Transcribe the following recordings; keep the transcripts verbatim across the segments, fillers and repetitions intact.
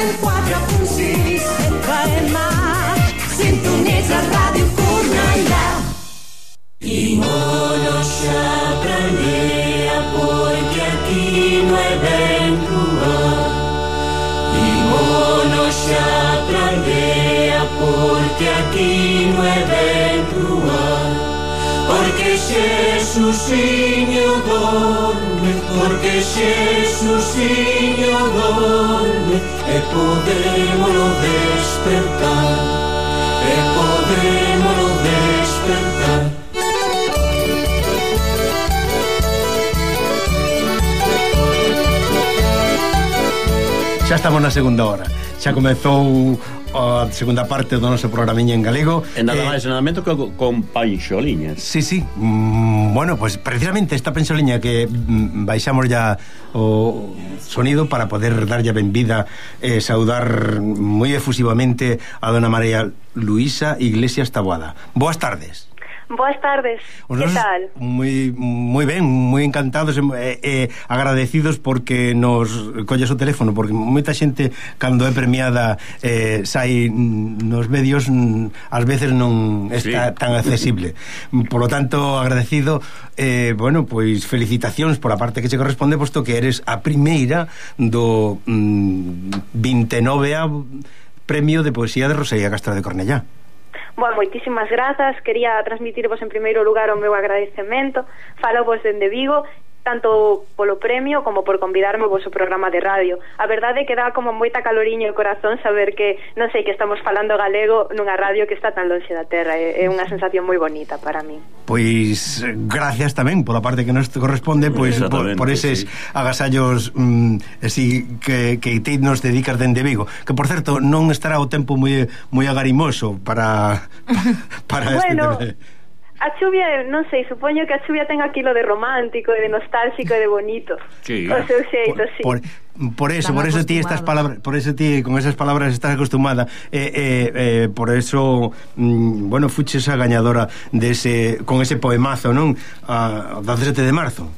cent quatre punt sis F M. Sintonitza Ràdio Cornellà. Y mono xa prendea porque aquí no é ben cruel. Y mono xa prendea porque aquí no é ben cruel. Porque Xesusiño dorme, porque Xesusiño dorme, e podémolo despertar, e podémolo despertar. Xa estamos na segunda hora. Xa comezou a segunda parte do noso programiña en galego. E nada eh, máis en alimento que con panxoliñas. Sí, sí. Mm, bueno, pues precisamente esta panxoliña que mm, baixamos ya o sonido para poder darlle a benvida e eh, saudar moi efusivamente a dona María Luisa Iglesias Taboada. Boas tardes. Boas tardes, que tal? Moi, moi ben, moi encantados e eh, eh, agradecidos porque nos colles o teléfono, porque moita xente cando é premiada eh, sai nos medios ás veces non está sí. tan accesible. Por lo tanto, agradecido, eh, bueno, pois felicitacións por a parte que che corresponde, posto que eres a primeira do mm, vinte e nove Premio de Poesía de Rosalía Castro de Cornellá. Bueno, moitísimas grazas. Quería transmitirvos en primeiro lugar o meu agradecemento. Falo vos dende Vigo, tanto polo premio como por convidarme ao vosso programa de radio. A verdade é que dá como moita caloriña o corazón saber que, non sei, que estamos falando galego nunha radio que está tan lonxe da terra. É unha sensación moi bonita para mí. Pois gracias tamén pola parte que nos corresponde, pois por, por eses sí. agasallos mm, así que, que te nos dedicas dende Vigo, que por certo non estará o tempo moi moi agarimoso para para bueno, este tema. A chuvia, non sei, supoño que a chuvia ten aquilo de romántico e de nostálxico e de bonito. Sí. O seu xeito, por, sí. Por, por eso, por eso ti estas palabras, por eso ti con esas palabras estás acostumada. Eh, eh, eh, por eso, mm, bueno, fuches a gañadora de ese, con ese poemazo, non? A dezasete de marzo.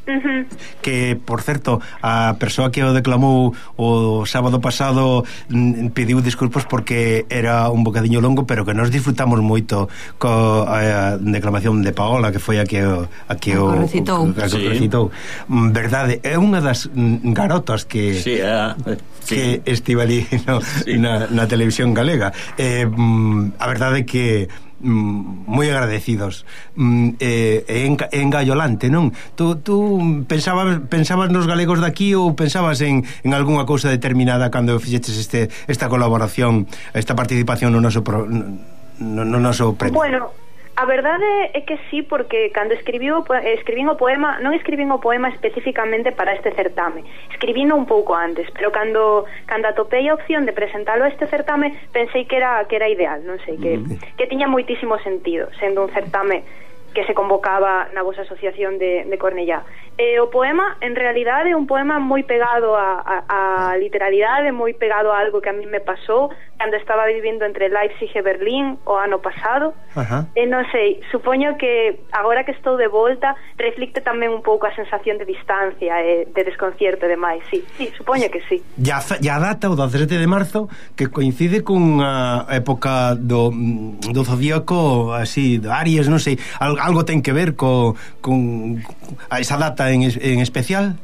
Uh-huh. Que, por certo, a persoa que o declamou o sábado pasado mm, pediu disculpas porque era un bocadiño longo, pero que nos disfrutamos moito coa declamación de Paola, que foi a que o, a que o, o recitou, a que sí. recitou. Verdade, é unha das garotas que sí, uh, que sí. estive ali no, sí. na, na televisión galega. Eh, mm, a verdade é que Mm, moi agradecidos mm, eh, en, en gallolante, non? Tú, tú pensabas, pensabas nos galegos daqui ou pensabas en, en algunha cousa determinada cando fixeches este, esta colaboración, esta participación no noso, pro, no, no noso premio? Bueno, a verdade é que sí, porque cando escribiu, escribín o poema, non escribín o poema especificamente para este certame, escribino un pouco antes, pero cando cando atopei a opción de presentalo a este certame, pensei que era que era ideal, non sei, que, que tiña moitísimo sentido, sendo un certame que se convocaba na vosa asociación de, de Cornellá. E o poema, en realidade, é un poema moi pegado a, a, a literalidade, moi pegado a algo que a mí me pasou cando estaba vivindo entre Leipzig e Berlín o ano pasado. Ajá. E non sei, supoño que agora que estou de volta reflicte tamén un pouco a sensación de distancia e de desconcierto e demais. Sí, sí, supoño que sí. Ya, ya data o dezasete de marzo, que coincide con a época do, do zodíaco así, de Aries, non sei, algo ten que ver co, con a esa data en, en especial?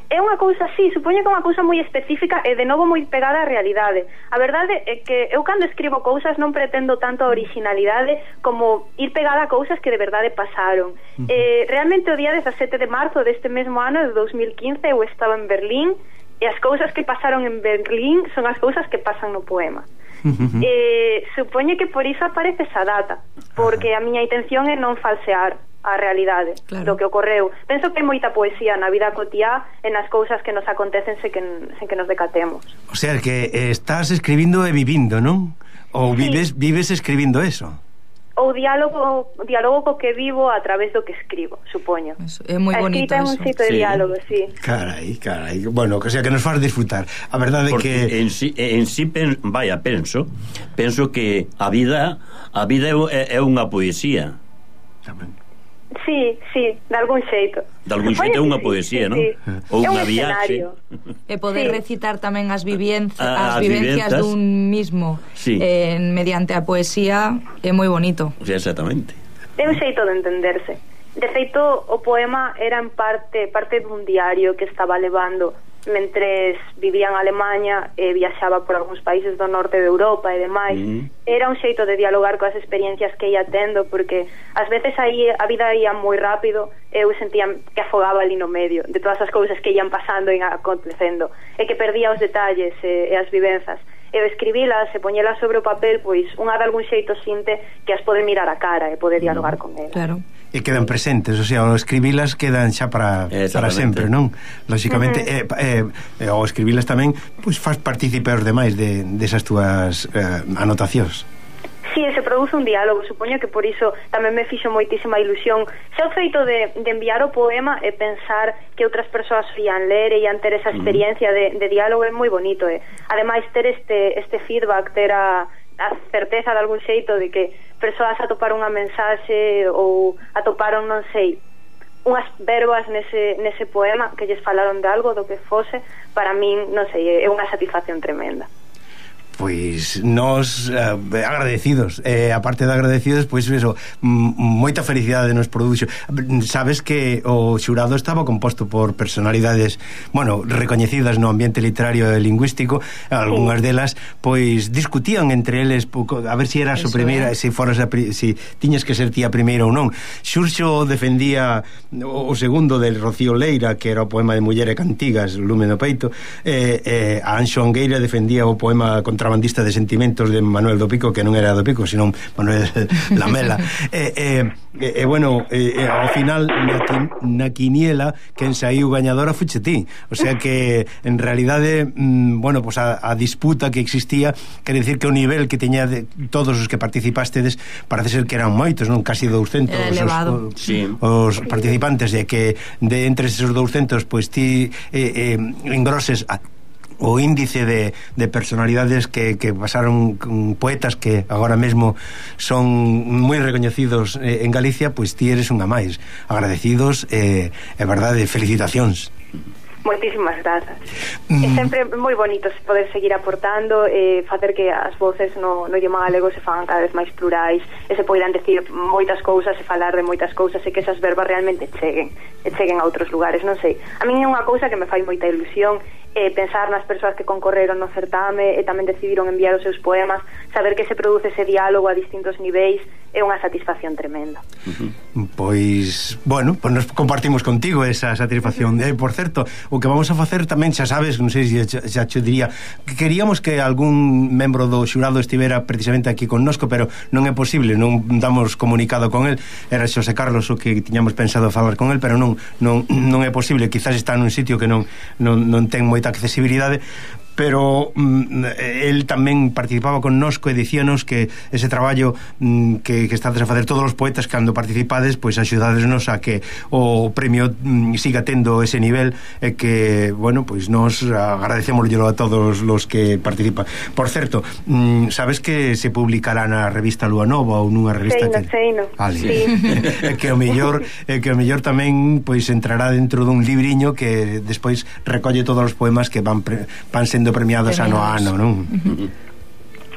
É unha cousa así, supoño que é unha cousa moi específica e de novo moi pegada á realidade. A verdade é que eu cando escribo cousas non pretendo tanto a originalidade como ir pegada a cousas que de verdade pasaron. Uh-huh. eh, realmente o día dezasete de marzo deste mesmo ano de dos mil quince eu estaba en Berlín e as cousas que pasaron en Berlín son as cousas que pasan no poema. Uh-huh. eh, supoño que por iso aparece esa data, porque a miña intención é non falsear a realidade, claro, do que ocorreu. Penso que hai moita poesía na vida cotiá e nas cousas que nos acontecen sen que, sen que nos decatemos. O sea, que estás escribindo e vivindo, non? Ou sí. vives vives escribindo eso? Ou diálogo, diálogo co que vivo a través do que escribo, supoño. Eso, é moi bonito eso. A escrita é un xeito de sí. diálogo, sí. Carai, carai. Bueno, que sea que nos faz disfrutar. A verdade é que en sí, en sí pen, vaya, penso, penso que a vida a vida é, é unha poesía. Tamén. Sí, sí, de algún xeito. De algún xeito é unha poesía, sí, non? sí. Ou É un unha viaxe. E poder Sí. recitar tamén as, vivenci Ah, as as vivencias vivenzas. dun mismo Sí. eh, mediante a poesía é moi bonito. Sí, exactamente. É un xeito de entenderse. De feito, o poema era en parte parte dun diario que estaba levando mentres vivía en Alemanha e viaxaba por algúns países do norte de Europa e demais. Mm. Era un xeito de dialogar coas experiencias que ia tendo, porque ás veces aí a vida ia moi rápido e eu sentía que afogaba ali no medio de todas as cousas que ian pasando e acontecendo, e que perdía os detalles e, e as vivenzas. E escribilas e poñelas sobre o papel, pois unha de algún xeito sinte que as pode mirar a cara e pode dialogar con elas. Claro. E quedan presentes, o sea, ao escribilas quedan xa para, para sempre, non? Lóxicamente, uh -huh. eh, eh, ao escribilas tamén, pois faz partícipe aos demais de, desas túas eh, anotacións. Sí, se produce un diálogo, supoño que por iso tamén me fixo moitísima ilusión xa o feito de, de enviar o poema e pensar que outras persoas ian ler e ian ter esa experiencia de, de diálogo é moi bonito, e ademais ter este, este feedback, ter a, a certeza de algún xeito de que persoas atoparon unha mensaxe ou atoparon, non sei, unhas verbas nese, nese poema que lles falaron de algo, do que fose, para min, non sei, é unha satisfacción tremenda. Pois nós eh, agradecidos, eh, aparte de agradecidos, pois eso, moita felicidade nos produxo. Sabes que o xurado estaba composto por personalidades, bueno, recoñecidas no ambiente literario e lingüístico, algunhas delas pois discutían entre eles a ver se si eras o primeira, se si foras a pri, si tiñas que ser ti a primeira ou non. Xurxo defendía o, o segundo del Rocío Leira, que era o poema de Muller e Cantigas, Lume no peito, e eh, eh, a Anxo Angueira defendía o poema Contrabandista de sentimentos de Manuel do Pico, que non era do Pico, sino Manuel Lamela. e, e, e, e bueno, e, ao final na, na quiniela quen saíu gañadora fuche ti, o sea que en realidade, mm, bueno, pues a, a disputa que existía, quere decir que o nivel que teña de todos os que participastedes parece ser que eran moitos, non? Casi douscentos os, os, sí. os participantes, e que de entre esos douscentos pois ti eh, eh, engroses a o índice de, de personalidades que, que pasaron, poetas que agora mesmo son moi recoñecidos eh, en Galicia, pois ti eres unha máis. Agradecidos e, eh, verdade, felicitacións. Moitísimas grazas. Mm. É sempre moi bonito poder seguir aportando e facer que as voces no, no idioma galego se fagan cada vez máis plurais e se poidan decir moitas cousas e falar de moitas cousas e que esas verbas realmente cheguen e cheguen a outros lugares, non sei. A min é unha cousa que me fai moita ilusión e pensar nas persoas que concorreron no certame e tamén decidiron enviar os seus poemas, saber que se produce ese diálogo a distintos niveis é unha satisfacción tremenda. Uh-huh. Pois, bueno, pues nos compartimos contigo esa satisfacción. Uh-huh. eh, por certo, o que vamos a facer tamén, xa sabes, non sei se xa te diría, que queríamos que algún membro do xurado estivera precisamente aquí connosco, pero non é posible, non damos comunicado con el. Era Xosé Carlos o que tiñamos pensado falar con el, pero non non, non é posible, quizás está nun sitio que non, non, non ten moita accesibilidade, pero mm, el tamén participaba connosco e dicíanos que ese traballo mm, que, que estades a facer todos os poetas cando participades, pois axudadesnos a que o premio mm, siga tendo ese nivel e que, bueno, pois nos agradecémoslo a todos los que participan. Por certo, mm, sabes que se publicará na revista Lúa Nova ou nunha revista Seino, que... seino. Vale. Sí. É que o mellor é que o mellor tamén pois entrará dentro dun libriño que despois recolle todos os poemas que van pre, van sendo premiados ano a ano, non? Uh-huh.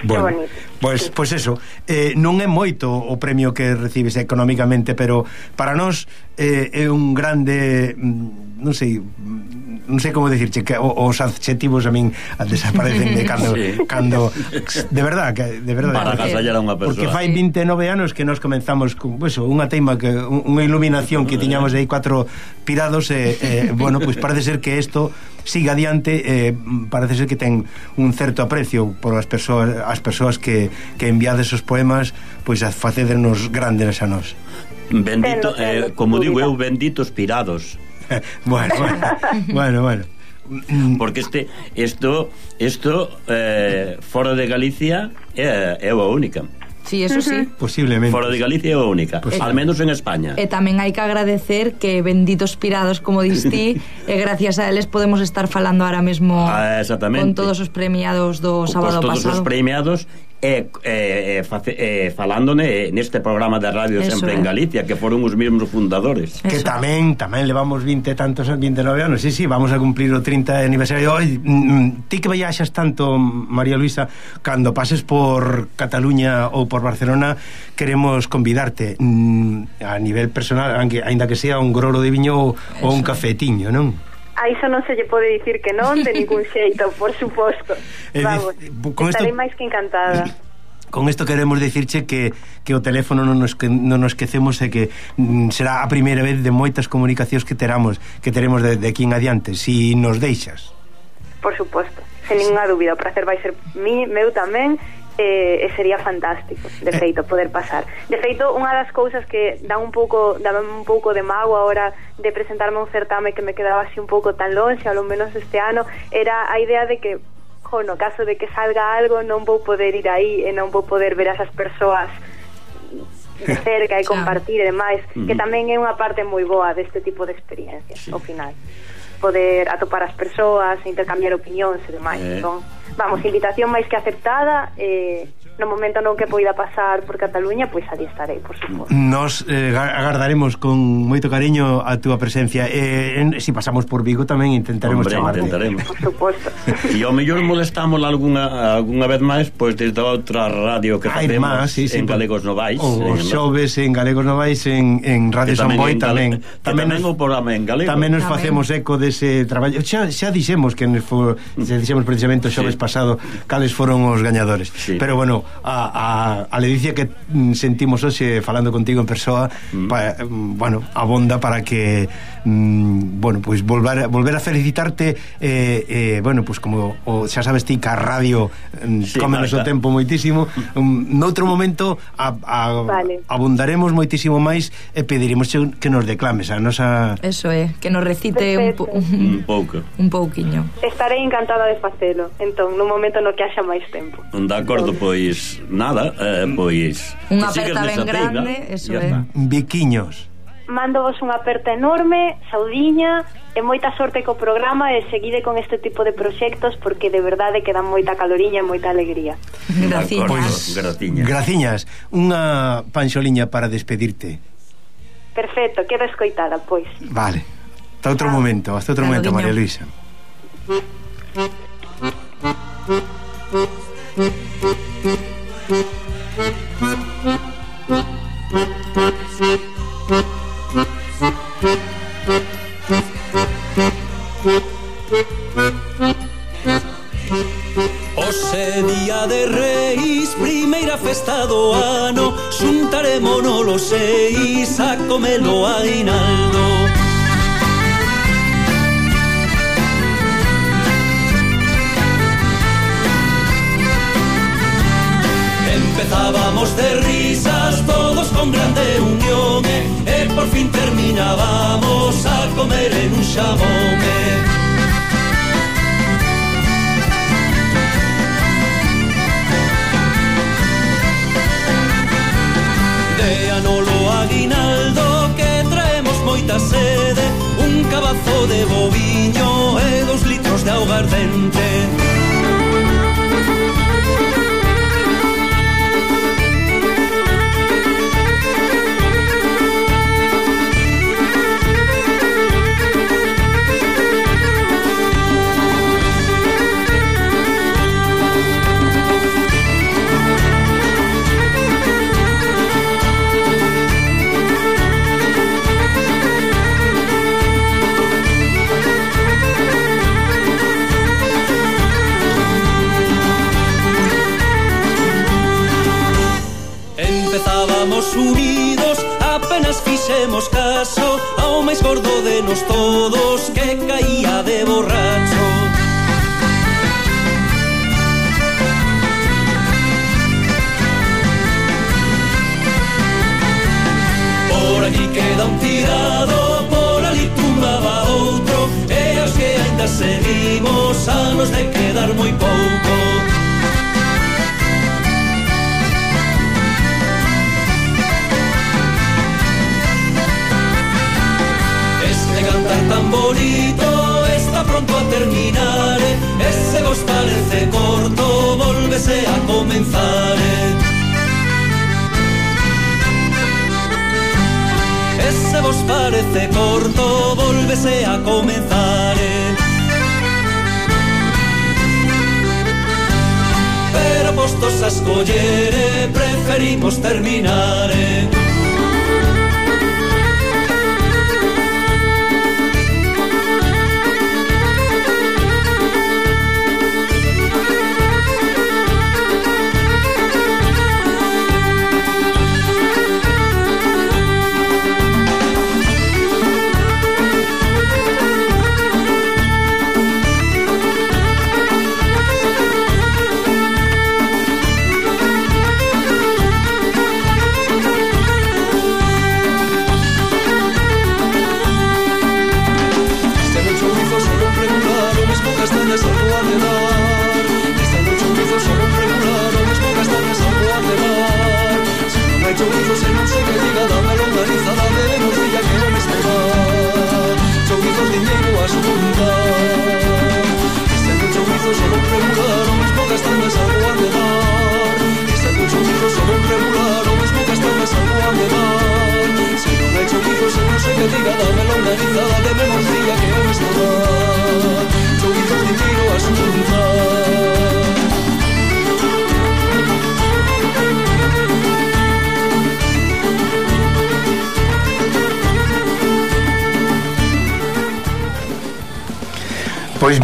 Bueno, pois, pois eso, eh, non é moito o premio que recibes económicamente, pero para nós eh, é un grande, non sei, non sei como decirche, que os adxetivos a min desaparecen de cando, sí. cando de verdad, que de verdad, para agasallar a unha persoa. Porque fai vinte e nove anos que nos comenzamos con, pues, unha teima que unha iluminación que tiñamos aí cuatro pirados e eh, eh, bueno, pois pues parece ser que isto siga adiante, eh, parece ser que ten un certo aprecio por as persoas as persoas que, que enviades os poemas, pois a facedernos grandes a nós. Bendito, eh, como digo eu, benditos pirados. bueno, bueno, bueno, bueno. Porque este esto esto eh, fora de Galicia é, é a única. Sí, eso sí. Posiblemente. Fora de Galicia é a única, pues, al menos en España. E tamén hai que agradecer que benditos pirados, como distí, e gracias a eles podemos estar falando ahora mesmo ah, con todos os premiados do sábado todos pasado. Todos os premiados e, e, face, e falándone neste programa de radio Eso Sempre é. en Galicia, que foron os mesmos fundadores. Que Eso. tamén, tamén levamos vinte tantos, vinte e nove anos. Sí, sí, vamos a cumplir o trinta aniversario. Oi, mm, ti que viaxas tanto, María Luisa, cando pases por Cataluña ou por Barcelona, queremos convidarte mm, a nivel personal, aunque aínda que sea un grolo de viño ou, ou un cafetiño, non? A iso non se lle pode dicir que non, de ningún xeito, por suposto. Eh, Vamos, con estarei esto- máis que encantada. Con isto queremos dicirche que, que o teléfono non nos, que, non nos esquecemos e que mm, será a primeira vez de moitas comunicacións que teramos que teremos de, de aquí en adiante, si nos deixas. Por suposto, sen ninguna dúbida. O prazer vai ser mi, meu tamén, e, e sería fantástico, de feito, poder pasar. De feito, unha das cousas que dá un pouco, dá un pouco de mago ahora de presentarme a un certame que me quedaba así un pouco tan longe, ao menos este ano, era a idea de que, jo, no caso de que salga algo, non vou poder ir aí e non vou poder ver a esas persoas de cerca e Claro. compartir e demais, que tamén é unha parte moi boa deste tipo de experiencias, ao final. Poder atopar as persoas, intercambiar opinións e demais. Eh. Entón, vamos, invitación máis que aceptada, eh, no momento non que poida pasar por Cataluña, pois ali estarei, por suposto. Nos eh, agardaremos con moito cariño a túa presencia. Eh, en, si pasamos por Vigo tamén intentaremos Hombre, chamarte. intentaremos. Por suposto. E ao mellor molestamos algunha, algunha vez máis, pois desde outra radio que Hai facemos máis, sí, sí, en Galegos Novais. Os en- xoves en Galegos Novais en, en Radio que San Boi en tamén. Gale- que tamén, nos- o programa en galego. Tamén nos Tamén. facemos eco dese traballo. Xa, xa dixemos que nos for, xa dixemos precisamente o xoves Sí. pasado cales foron os gañadores. Sí. Pero bueno, a, a, a ledicia que mm, sentimos hoxe falando contigo en persoa, Mm. pa, mm, bueno, abonda para que mm, bueno, pois pues volver, volver a felicitarte eh, eh, bueno, pois pues como o, xa sabes ti que a radio mm, Sí, cómenos o marca. tempo moitísimo. Um, noutro momento a, a, Vale. abundaremos moitísimo máis e pediremos que nos declames a nosa. Eso é, que nos recite un, po- Un pouco. un pouquiño. Estarei encantada de facelo, entón, no momento no que haxa máis tempo. De acordo, pois nada, eh, pois Unha que sigues aperta ben nesa teiga, grande, eso ya é. está. Viquiños. Mándovos unha aperta enorme, saudiña, e moita sorte co programa e seguide con este tipo de proxectos porque de verdade que dan moita caloriña e moita alegría. Graciñas. Pois, Pois, graciñas. graciñas. Unha panxoliña para despedirte. Perfecto, quedo escoitada, pois. Vale. Hasta outro momento, hasta outro Claro, momento, guiño. María Luisa. Hoxe día de Reis, primeira festa do ano, xuntarémonos los seis a comelo aguinaldo. Empezábamos de risas, todos con grande unión, e por fin terminábamos a comer en un xamón. De anolo aguinaldo que traemos moita sede, un cabazo de boviño e dos litros de augardente. Empezábamos unidos, apenas fixemos caso ao máis gordo de nos todos que caía de borracho. Por aquí queda un tirado, por ali tumbaba outro, e os que ainda seguimos a nos de quedar moi pouco. Este cantar tan bonito está pronto a terminar, ese vos parece corto, volvese a comenzar. parece corto, volvese a comenzar, eh. Pero postos a escoller, eh, preferimos terminar, eh. Pois